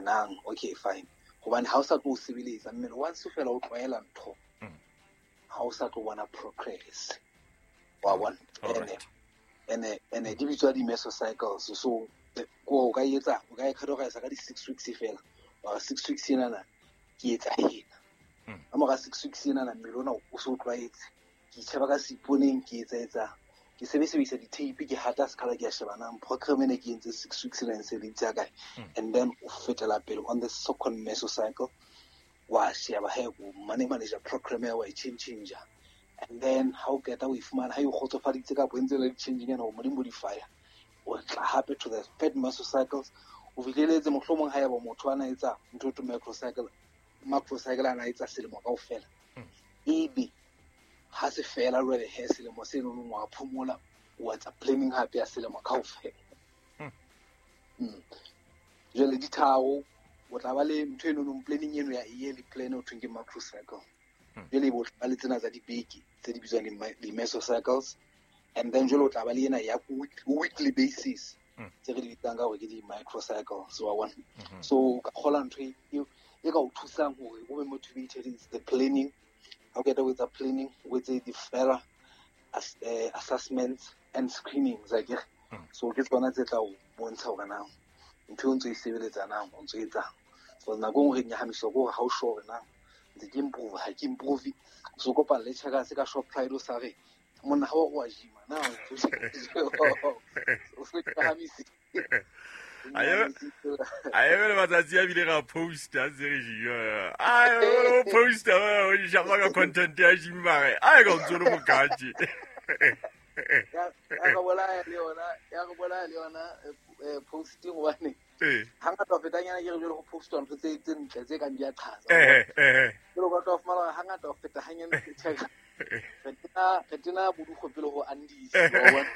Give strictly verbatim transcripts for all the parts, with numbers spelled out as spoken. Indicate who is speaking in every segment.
Speaker 1: Hore nang okay fine hobane ha o sa tlo sebeletsa mmele once fela o tlwaela ntho ha o sa tlo bona progress wa bona. Ene ene ene di bitswa di mesocycles. So ko o ka etsa o ka e categorize ka di six weeks fela wa six weeks ena na ke etsa ena ka mora six weeks ena na mmele ona o so tlwaetse ke itsheba ka seiponeng ke etsa etsa ke sebedisa di-tape ke hata sekgala ke a sheba nang program ene ke entse six weeks ena e sebeditse kae. And then o fetela pele on the second mesocycle wa sheba he o money manager program ya wa e change change. And then ha o qeta o e fumana ha e o kgotsofaditse kapa e ntse le changing ena o mo di modify o tla hape to the third mesocycles o fihleletse mohlomong ha eba motho ana etsa ntho to macrocycle macrocycle ana etsa selemo kaofela ebe ha se fela jwale he selemo seno no wa phomola o etsa planning hape ya selemo kaofela. Mm. Jwale di tharo o tla ba le ntho eno no planning eno ya yearly plan o thweng ke macrocycle. Jwale bo tla le tsena tsa dibeke tse di bitswang di mesocycles. And then jwale o tla ba le ena ya weekly basis tse re di bitsang ka hore ke di microcycle. So wa bona. So ka kgola ntho e e ka o thusang hore o be motivated is the planning. Ha o qeta ho etsa planning o etse di further as, uh, assessments and screenings akere. So ke tsona tse tla o bontsha hore na ntho e ntse e sebeletsa na o ntse etsang. So nako nngwe re nyahamiswa ke hore ha o sure na ntse ke improve ha ke improve. So kopana le checkers ka shop pride o sa re monna ha o wa gym na o se nyahamise.
Speaker 2: Aye aye le matsatsi a bile ra posta tse re gym. Ai o posta o shapa ka content ya gym mare. Ai ka ntse lo mokaje.
Speaker 1: Ya ya bolaya le yona ya go bolaya le yona posting hobane
Speaker 2: eh
Speaker 1: ha ngata o fetanyana ke re jwale go postwa ntho tse tse ntle tse kang di a qhaza.
Speaker 2: Eh eh
Speaker 1: jwale o ka tla fumana ha ngata o feta hanyane ke check re tena re tena bodugo pele ho Andes wa bona.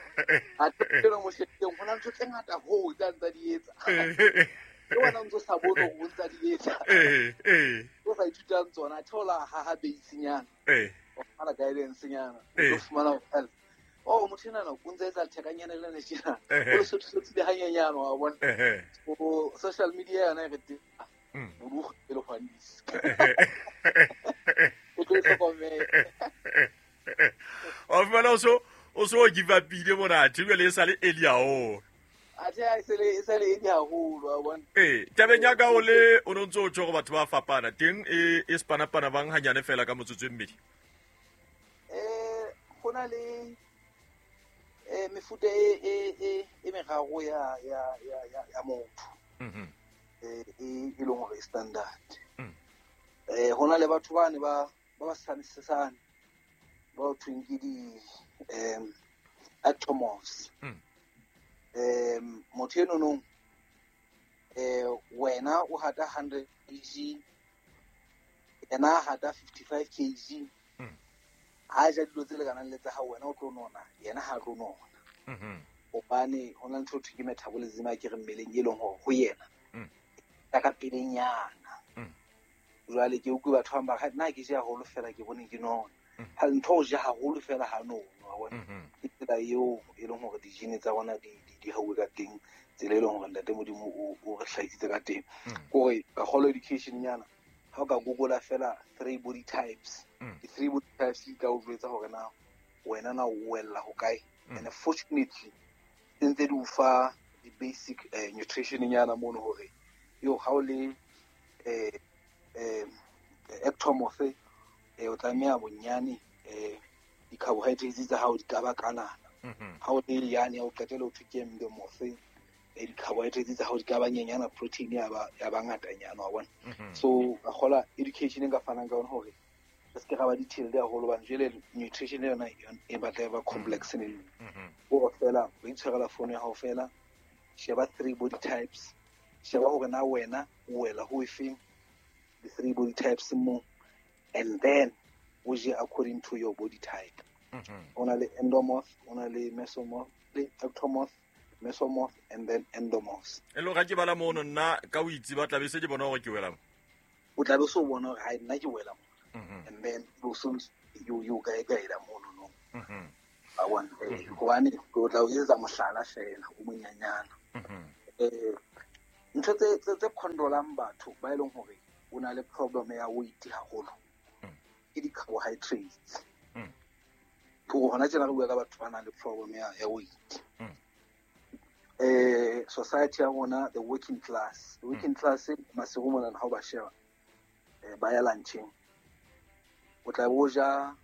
Speaker 1: Ha tena mo shebeng hona ntho tse ngata ho tsa ntsa di etsa ke wena o ntso sa bone hore o ntsa di etsa.
Speaker 2: Eh eh
Speaker 1: o sa ithutang tsona theola ha ha base nyana
Speaker 2: eh
Speaker 1: o fumana guidance nyana o fumana help. Oh motho ena o ntse etsa thekanyana le tjena o le sotho sotho le hanyenyana wa bona. O social media yona e re teng bodugo pele ho Andes o tlo hlokomela.
Speaker 2: O fumana o so o so give up ile mona jwale e sale early haholo.
Speaker 1: Athe e sale e sale early haholo wa bona.
Speaker 2: Eh tabeng ya ka o le o no ntso o tjho gore batho ba fapana teng e e spanapana bang hanyane fela ka motsotso e mmedi.
Speaker 1: Eh go na le eh mefuta e e e e meraro ya ya ya ya motho.
Speaker 2: Mhm.
Speaker 1: Eh e e leng hore standard.
Speaker 2: Mm.
Speaker 1: Eh hona le batho bane ba ba ba sanisisana ba thweng ke di um ectomorphs.
Speaker 2: Mm.
Speaker 1: Um motho eno no eh wena o hata one hundred kilograms yena hata fifty-five kilograms.
Speaker 2: Mm.
Speaker 1: Ha ja dilo tse lekanang le tsa ha wena o tlo nona yena ha tlo nona.
Speaker 2: Mhm.
Speaker 1: Hobane hona ntho thwe ke metabolism a ke re mmeleng e leng hore ho yena.
Speaker 2: Mm.
Speaker 1: Ka ka pelenyana.
Speaker 2: Mm.
Speaker 1: Jwale ke utlwe batho ba ba nna ke ja haholo fela ke bone ke nona. Ha ntho o ja haholo fela ha no wa bona. Ke tsela eo e leng hore di-gene tsa rona di di hauwe ka teng, tsela e leng hore Ntate Modimo o o re hlahisitse ka teng. Kore ka kgolo education nyana ha o ka google fela three body types. The three body types di tla o jwetsa hore na wena na o wella ho kae. And fortunately ntse di o fa di basic uh, nutrition nyana mono hore yo ha o le eh eh ectomorph eh o tlameha bonyane eh di-carbohydrates tsa hao di ka ba kanana. Ha o le yane o qetela o thwe ke endomorph eh di-carbohydrates tsa hao di ka ba nyenyana, protein ya ba ya ba ngatanyana wa bona. So ka kgola education e nka fanang ka yona hore re se ke ra ba detailed haholo hobane jwale nutrition yona e batla e ba complex ne. O fela o itshwarela phone ya hao fela, sheba three body types, sheba hore na wena o wela ho efeng the three body types mo, and then o je according to your body type. O na le endomorph, o na le mesomorph, le ectomorph, mesomorph and then endomorphs.
Speaker 2: E lo ga ke bala mono nna ka o itse ba tla be se ke bona hore ke wela mo.
Speaker 1: O tla be so bona hore ha nna ke wela mo. And then you soon you you ka e kaela mono no.
Speaker 2: Mhm.
Speaker 1: A bona hobane o tla o etsa mohlala fela o monyanyana. Eh Ntho tse tse controlang batho ba e leng hore o na le problem ya weight haholo ke di-carbohydrates. Ke hore hona tjena re bua ka batho ba nang le problem ya ya weight. Eh society ya rona, the working class, the working class masigo mona ha o ba sheba eh ba ya luncheng, o tla bo ja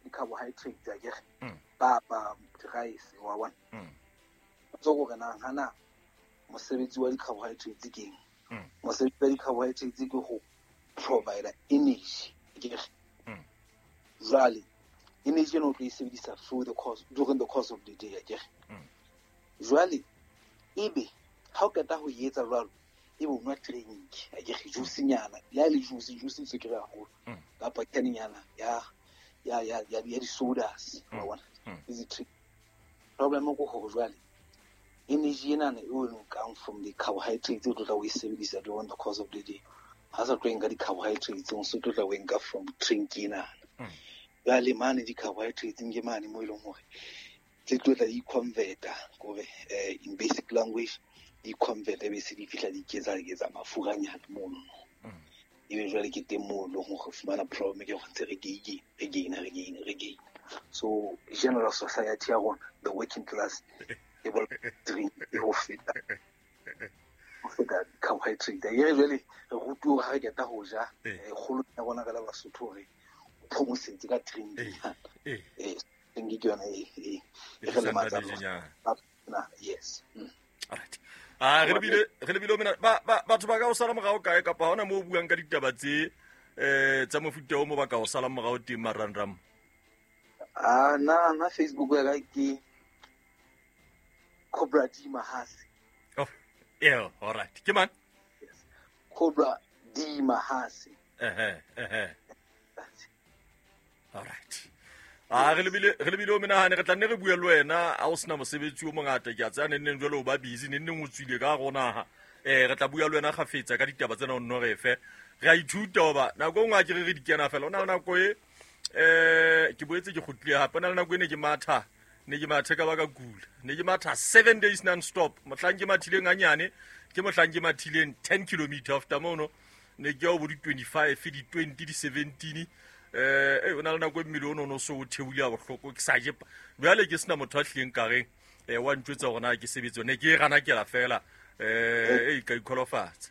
Speaker 1: di-carbohydrates akere, papa, rice, wa bona. So gore na hana mosebetsi wa di-carbohydrates ke eng? Mosebetsi wa di-carbohydrates ke go provide energy akere. Jwale energy eno o tlo e sebedisa through the course, during the course of the day akere. Jwale ebe ha o qeta ho etsa jwalo, ebe o nwa drink akere, juice nyana ya le juice juice tse ke haholo kapa kenyana ya ya ya ya di-sodas, wa bona, is it problem ko hore jwale energy ena e o nkang from the carbohydrates o tlo tla o e sebedisa during the course of the day, ha sa tlo nka di-carbohydrates o so tlo tla o nka from drink ena. Jwale mane di-carbohydrates ke mane mo e leng hore tse tlo tla di converta kore in basic language di convert be se di fihla di ketsa ketsa mafuranyana mono. Ebe jwale ke teng moo leng hore fumana problem ke go ntse re gain re gain re gain re gain. So general society ya rona, the working class, e bo drink e ho feta ho feta carbohydrate. Ye jwale re rutuwa ha re qeta ho ja kgolo ya rona ka la Basotho hore o phomosetse ka drink. Eh drink ke yona e e re le matsa na. Yes.
Speaker 2: All right. Ah re lebile re lebile mena ba batho ba ka o sala morao kae kapa hona mo buang ka ditaba tse eh tsa mofuta o mo ba ka o sala morao teng marangram?
Speaker 1: Ah na na Facebook ya ka ke Cobra D Mahase.
Speaker 2: Oh, yeah, all right. Ke mang?
Speaker 1: Yes. Cobra D Mahase.
Speaker 2: Eh eh eh. All right. Ah re lebile re lebile o menahane re tla nne re bue le wena a o sena mosebetsi o mongata ke a tsaya neng jwale o ba busy neng neng o tswile ka rona ha eh re tla bua le wena gafetsa ka ditaba tsena o nno re fe re a ithuta hoba nako e nngwe a ke re re di kena fela o na le nako e eh ke boetse ke kgutlile hape na le nako e ne ke matha ne ke mathe ka ba ka kula ne ke matha seven days non stop mohlang ke mathileng hanyane ke mohlang ke mathileng ten kilometer after mono ne ke ya bo di twenty-five di twenty di seventeen eh o na le nako e mmele ono no so o theule a bohloko ke sa je jwale ke sena motho a hlileng ka reng eh wa ntjwetsa hore na ke sebetse ne ke e gana kela fela eh e ka ikholofatsa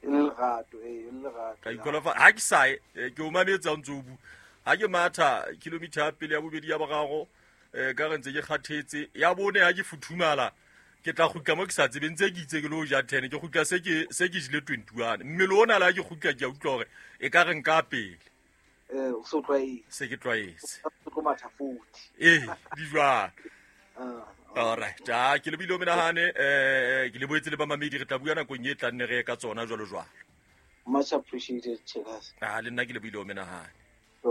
Speaker 1: lerato eh lerato
Speaker 2: ka ikholofatsa ha ke sa ke o mametsa o ntse o bu ha ke matha kilometer ya pele ya bobedi ya boraro eh ka re ntse ke kgathetse ya bone ha ke futhumala ke tla kgutla mo ke sa tsebeng tse ke itse ke lo ja ten ke kgutla se ke se ke jile twenty-one mmele ona la ke kgutla ke a utlwa hore e ka re nka pele
Speaker 1: eh o so tlwaetse
Speaker 2: se ke tlwaetse
Speaker 1: o tlo matha forty
Speaker 2: eh di jwang. All right ah ke lebile o menahane eh ke le boetse le ba mamedi re tla bua nakong e tlang ne re ka tsona jwalo jwalo.
Speaker 1: Much appreciated, Chekas.
Speaker 2: Ah le nna ke lebile o menahane.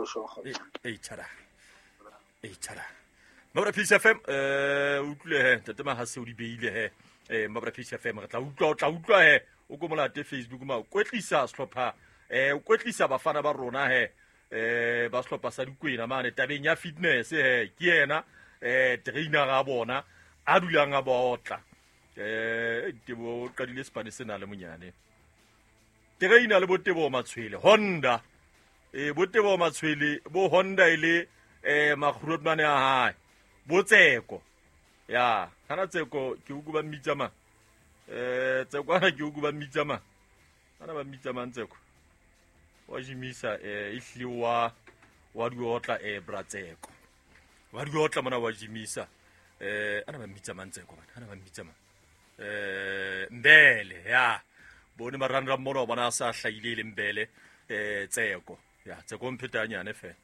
Speaker 1: Sure.
Speaker 2: Eh tshara eh tshara Mabra Peace F M eh utlwe he ntate Mahase o di beile he eh Mabra Peace F M re tla utlwa o tla utlwa he o ko molate Facebook ma o kwetlisa sehlopha eh o kwetlisa bafana ba rona he eh ba sehlopha sa Dikwena mane tabeng ya fitness he ke yena eh trainer a bona a dulang a botla eh Tebo o qadile Spanish sena le monyane trainer le Botebo Matshwele Honda eh Botebo Matshwele bo Honda ile eh makgurotmane a hae bo Tseko ya kana Tseko ke o ba mmitsa ma eh Tseko ana ke o ba mmitsa ma ana ba mmitsa mang Tseko wa jimisa eh ihle wa wa diotla eh bra Tseko wa diotla mona wa jimisa eh ana ba mmitsa mang Tseko bana ana ba mmitsa mang eh Mbele ya bone marandra mona bona sa hlaile le Mbele eh Tseko ya Tseko mphetanyane fe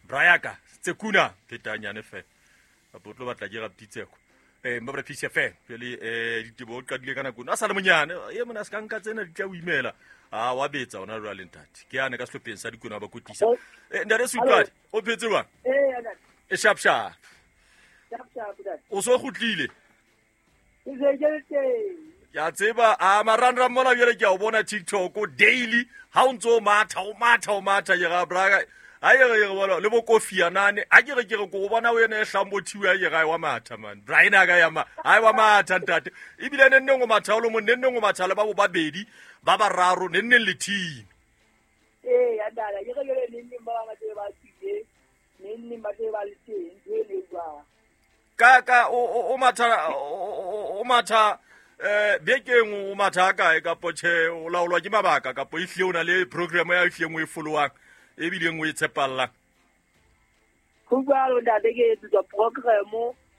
Speaker 2: Brayaka Tsekuna phetanyane fe apo tlo batla ke rapti Tseko eh Mabra Peace F M jwale eh Ditebo o qadile ka nako a sa le monyane e mona se ka nka tsena di tla o imela a wa betsa ona jwale ntate ke yane ka sehlopheng sa Dikwena ba kotlisa eh ntate Sutlwane o phetse jwang
Speaker 3: eh ntate
Speaker 2: e sharp sharp
Speaker 3: sharp sharp ntate
Speaker 2: o so kgutlile
Speaker 3: ke se ke teng
Speaker 2: ya tseba a marandra mona jwale ke a o bona TikTok daily ha o ntso matha o matha o matha ke ga braga A ye re bona le bo Kofi Annan a ke re ke re go bona o ene e hlambothiwe a ye ga wa matha man Brian a ka ya ma ai wa matha ntate ebile ne nne ngo matha o lo mo ne nne ngo matha le ba bo babedi ba bararo ne nne le team
Speaker 3: eh ya dala ke re le nne ba ba tse ba tsile ne nne ba tse ba le teng ntwe le jwa
Speaker 2: ka ka o o matha o matha eh bekeng o matha kae ka potche o laolwa ke mabaka ka po ihle o na le program ya ihle ngwe followang e bile ngwe tshepalla
Speaker 3: go jalo ntate ke etsa program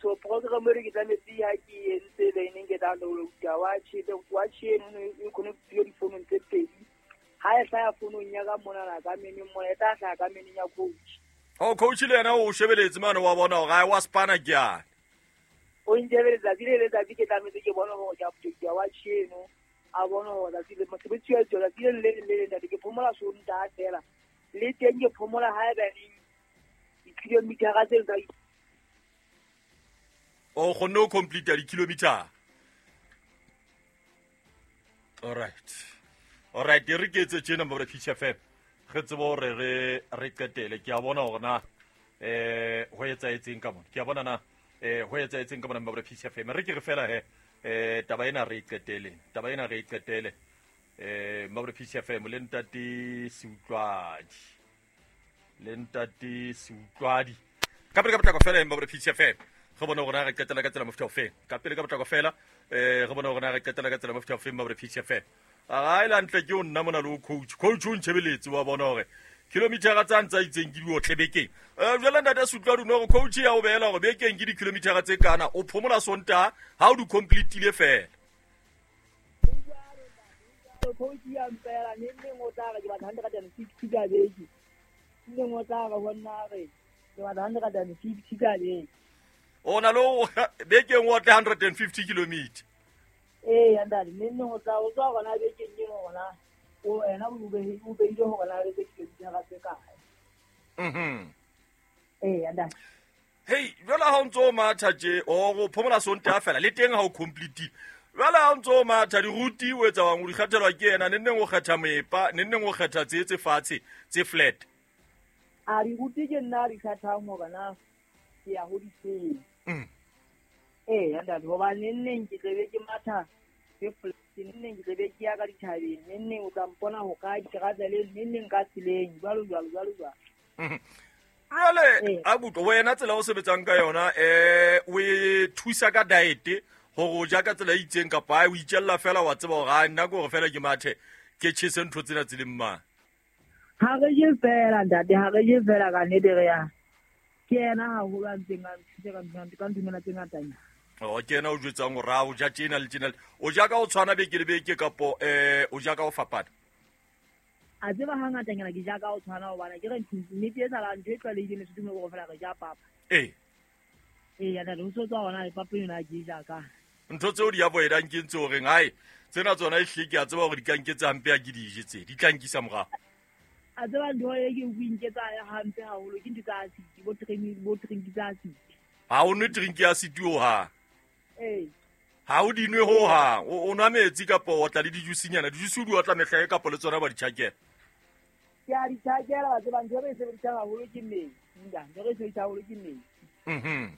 Speaker 3: so program re ke tlametse ha ke entse le neng ke download ka watch the watch eno e connect yo difounong tse pedi ha e hlaya founong ya ka mona la ka meneng mona e tla hlaya ka meneng ya coach
Speaker 2: o coach le yena o shebeletse mane wa bona hore ai wa spana ke yana
Speaker 3: o njebeletsa le letsatsi ke tlametse ke bona hore ke update ya watch eno a bona hore tsatsi le mosebetsi wa tsona le le le ntate ke phomola sonta fela le teng ke phomola ha eba neng di-kilometer tse tsa
Speaker 2: o kgonne ho complete di-kilometer. All right all right re ke etse tjena mabra Peace F M re tsebe hore re re qetele ke a bona hore na eh ho etsaetseng ka mona ke a bona na eh ho etsaetseng ka mona mabra Peace F M re ke re fela he eh taba ena re qetele taba ena re qetele eh mabra Peace F M le ntate Seutlwadi le ntate Seutlwadi ka pele ka potlako fela mabra Peace F M re bona hore re qetela ka tsela mofuta ofe ka pele ka potlako fela eh re bona hore re qetela ka tsela mofuta ofe mabra Peace F M a ga ile ntle ke o nna mona le coach coach o ntshebeletse wa bona hore kilometer tsa ntsa itseng ke di otle bekeng eh jwale ntate Seutlwadi no re coach ya o beela hore bekeng ke di kilometer tse kana o phomola sonta ha o di completile fela
Speaker 3: coach ya mpela ne nne o tla re ke batla hundred and fifty ka beke nne o tla re ho nna re ke batla hundred and fifty ka beke
Speaker 2: o na lo bekeng o tle hundred and fifty kilometer
Speaker 3: eh ntate ne nne o tla o tswa gona bekeng eno gona o ena o be o beile hore na le kilometer tse kae
Speaker 2: mhm
Speaker 3: eh ntate
Speaker 2: hey jwale ha o ntso matha tje o go phomola sonta fela le teng ha o complete jwale ha o ntso matha diruti o etsa wang o di kgathelwa ke yena ne nneng o kgetha mepa ne nneng o kgetha tse tse fatshe tse flat
Speaker 3: a diruti ke nna di kgathang hore na ke ya ho di mm eh ntate hoba ne nneng ke tlebe ke matha ke flat ne nneng ke tlebe ke ya ka dithabeng ne nneng o tla mpona ho ka diterateleng ne nneng ka tseleng jwalo jwalo jwalo jwalo
Speaker 2: jwale a butlo wena tsela o sebetsang ka yona eh o e thusa ka diet hore o ja ka tsela e itseng kapa o itjella fela wa tseba hore ha nna ke hore fela ke mathe ke tjhese ntho tsena tse leng mang
Speaker 3: ha re je fela ntate ha re je fela ka nnete re ya ke yena haholo a ntseng a nthuse ka ntho ka ntumela tse ngatanyana
Speaker 2: o ke yena o jwetsang hore ha o ja tjena le tjena o ja ka o tshwana beke le beke kapo eh o ja ka o fapana
Speaker 3: a tseba hangatanyana ke ja ka o tshwana hobane ke re nnete e sala ntho e tlwaelehileng Lesotho mo go fela re ja papa
Speaker 2: ee
Speaker 3: ee ya ntate ho so tswa hona papa yona ke ja ka
Speaker 2: ntho tseo di avoidang ke ntse horeng hai tsena tsona e hle ke a tseba hore di ka nketsa hampe ha ke di je tse di tla nkisa morao
Speaker 3: a tseba ntho e ke o inketsa hampe haholo ke ntho tsa acid bo training bo drink tsa acid
Speaker 2: ha o nwe drink ya acid ho ha
Speaker 3: ee
Speaker 2: ha o di nwe ho ha o nwa metsi kapa o tla le dijusinyana dijusi o di otla mehla e kapa le tsona ba di tjhakela
Speaker 3: ke a di tjhakela ba tseba ntho e re e sebedisang haholo ke metsi ntho e re e sebedisang haholo ke metsi
Speaker 2: mhm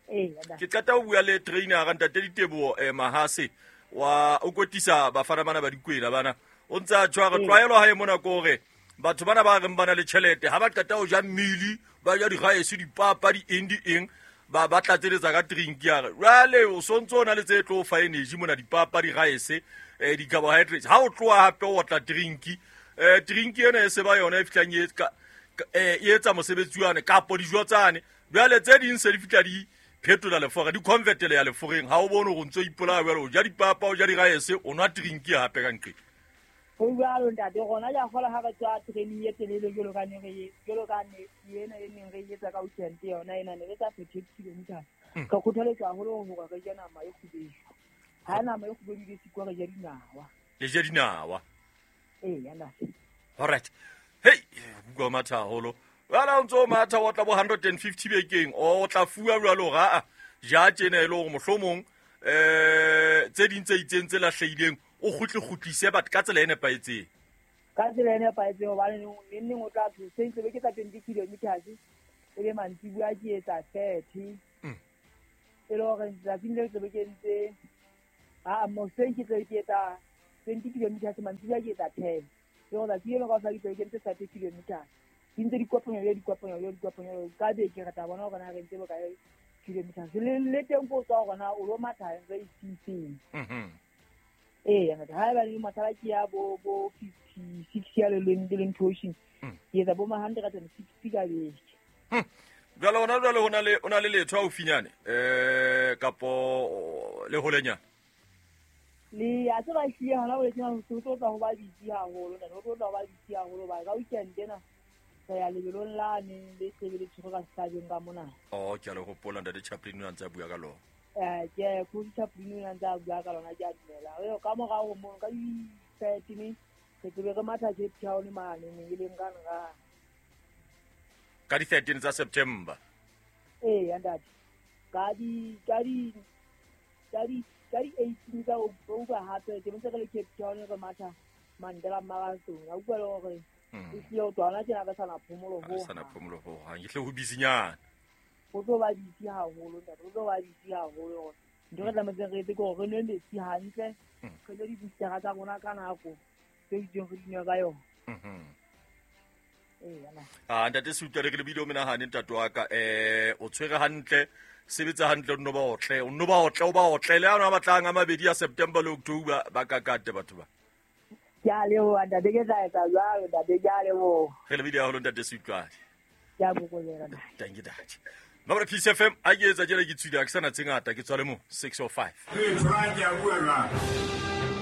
Speaker 3: ee
Speaker 2: ke qeta ho bua le trainer ga ntate Diteboho eh Mahase wa o kotisa bafana bana ba dikwena bana o ntsa tshwa re tlwaelo ha e mona ko hore batho bana ba reng bana le tjhelete ha ba qeta ho ja mmili ba ja digaese dipapa di eng di eng ba ba tlatseletsa ka drink ya re jwale o sontso o na le tse tlo fa energy mona dipapa digaese eh di-carbohydrates ha o tloha hape o otla drink eh drink ena e se ba yona e fihlang e eh e etsa mosebetsi wane kapo dijo tsane jwale tse ding se di fihla di phetola lefora di convertele ya leforeng ha o bone hore o ntso ipolaya jwale o ja dipapa o ja digaese o nwa drink hape ka nqe
Speaker 3: ho jwalo ntate rona ja kgola ha re tswa training e telele jwalo ka ne re jwalo ka ne ena e neng re etsa ka weekend yona ena ne re tsa thirty kilometers ka kgothaletswa haholo hore re je nama e kgubedu ha nama e kgubedu ke sikwa re je dinawa
Speaker 2: le je dinawa
Speaker 3: ee ya ntate
Speaker 2: all right hey bua matha haholo jwale o ntso matha o tla bo hundred and fifty bekeng o tla fuwa jwalo ga ja tjena e le hore mohlomong eh tse ding tse itseng tse lahlehileng o kgutle kgutlise batho ka tsela e nepahetseng
Speaker 3: Ka tsela e nepahetseng hobane neng neng o tla hoseng tle be ke tsa twenty kilometers e be mantsibuya ke etsa thirty. E le hore tsatsing leo tle be ke entse a hoseng ke tle ke etsa twenty kilometers mantsibuya ke etsa ten. Ke hore tsatsi leo kaofela ke tle ke entse thirty kilometers. Di ntse di kopanya le di kopanya le di kopanya ka beke re tla bona hore na re ntse bokae kilometers. Le le teng ko tswa hore na o lo matha re isitseng.
Speaker 2: Mhm.
Speaker 3: Eh, ha eba le mathala ke ya bo bo fifty-six ya le le le nthoshi. Ke etsa bo ma hundred and sixty ka beke.
Speaker 2: Hm. Jwale hona jwale hona le ona le letho haufinyane eh kapo le holenyana.
Speaker 3: Le a tseba hlile hona ho letsena ho tlo tla ho ba bitsi haholo, nna ho tlo tla ho ba bitsi haholo ba ka weekend ena. Re ya lebelong lane le tlebe le tshwere ka sehlabeng ka mona.
Speaker 2: Oh, ke a le hopola ntate Chaplin o ntse a bua ka lona.
Speaker 3: Eh, ke Coach Chaplin o ntse a bua ka lona ke a dumela. Eo ka morao mono ka di-thirteen re tlebe re matha Cape Town mane e leng ka nra.
Speaker 2: Ka di-thirteen tsa September.
Speaker 3: Eh, ntate. Ka di ka di ka di ka di eighteen tsa October hape ke ntse re le Cape Town re matha Mandela Marathon. A utlwa le hore e hlile ho twana tjena re sana phomolo ho.
Speaker 2: Re sana phomolo ho hang. Ke hle ho busynyana.
Speaker 3: Ho tlo ba busy haholo ntate, ho tlo ba busy haholo. Ntho re tlametseng re etse ke hore re nwe metsi hantle, re nwe di-booster tsa rona ka nako tse itseng re di nwe ka yona.
Speaker 2: Mhm.
Speaker 3: Eh, yana.
Speaker 2: Ah, ntate Seutwane re lebile o menahane ntate wa ka. Eh, o tshwere hantle, sebetsa hantle o nno ba otle, o nno ba otle, o ba otle le ana ba batlang a mabedi ya September le October ba kakate batho ba.
Speaker 3: Ke a leboha ntate, ke tla etsa jwalo ntate, ke a leboha.
Speaker 2: Re lebile haholo ntate Seutwane.
Speaker 3: Ke a bokolela ntate.
Speaker 2: Thank you ntate. Mabra Peace F M a ke etsa tjena ke tswile ha ke sana tse ngata ke tswa le mo six oh five.
Speaker 4: Ee, tshwara ke a bua jwale.